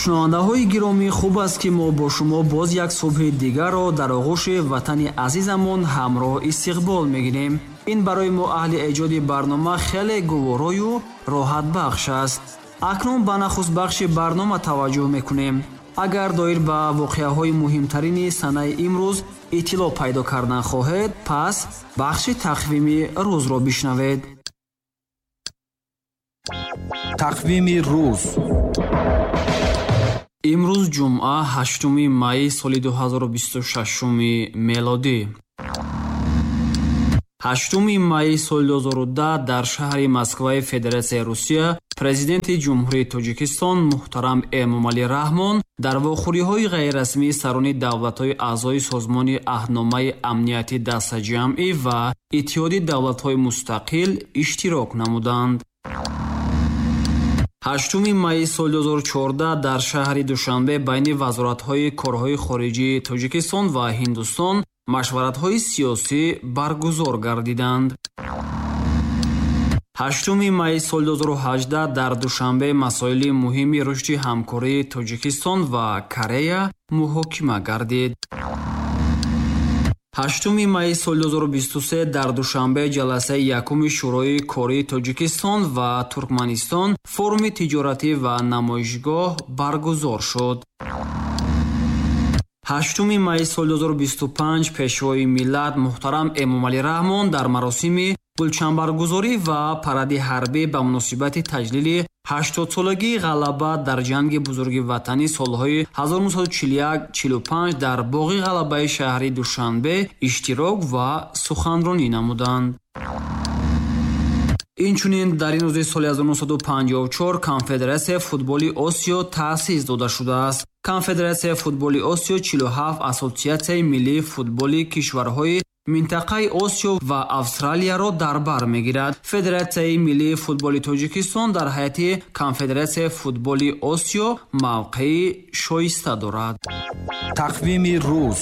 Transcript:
Шунавандаҳои гиромӣ, хуб аст, ки мо бо шумо боз як субҳи дигарро дар оғӯши ватани азизамон ҳамроҳ истиқбол мегирем. Ин барои мо аҳли эҷоди барнома хеле гуворою роҳатбахш аст. Акнун ба нахуст бахши барнома таваҷҷӯҳ мекунем. Агар доир ба воқеаҳои муҳимтарини санаи имрӯз иттилоъ пайдо кардан хоҳед, пас бахши тақвими рӯзро бишнавед. Тақвими рӯз. Имрӯз ҷумъа, 8 майи соли 2026 мелодӣ. 8 майи соли 2010 дар шаҳри Москваи Федератсияи Русия Президенти Ҷумҳурии Тоҷикистон муҳтарам Эмомалӣ Раҳмон дар вохӯриҳои ғайрирасмии сарони давлатҳои аъзои Созмони Аҳдномаи Амнияти Дастаҷамъӣ ва Иттиҳоди Давлатҳои Мустақил иштирок намуданд. 8 майи соли 2014 дар шаҳри Душанбе байни вазоратҳои корҳои хориҷии Тоҷикистон ва Ҳиндустон машваратҳои сиёсӣ баргузор гардиданд. 8 майи соли 2018 дар Душанбе масоили муҳими рушди ҳамкории Тоҷикистон ва Корея муҳокима гардид. 8 майи соли 2023 дар Душанбе ҷаласаи якуми Шӯрои кории Тоҷикистон ва Туркманистон, форуми тиҷоратӣ ва намоишгоҳ баргузор шуд. 8 майи соли 2025 Пешвои миллат муҳтарам Эмомалӣ Раҳмон дар маросими гулчамбаргузорӣ ва паради ҳарбӣ ба муносибати таҷлили 80-солагии ғалаба дар Ҷанги Бузурги Ватанӣ солҳои 1941-45 дар боғи Ғалабаи шаҳри Душанбе иштирок ва суханронӣ намуданд. Инчунин дар ин рӯзи соли 1954 Конфедератсияи футболи Осиё таъсис дода шудааст. Конфедератсияи футболи Осиё 47 ассотсиатсияи миллии футболи кишварҳои минтақаи Осиё ва Австралияро дар бар мегирад. Федератсияи миллии футболи Тоҷикистон дар ҳайати Конфедератсияи футболи Осиё мавқеи шоиста дорад. Тақвими рӯз.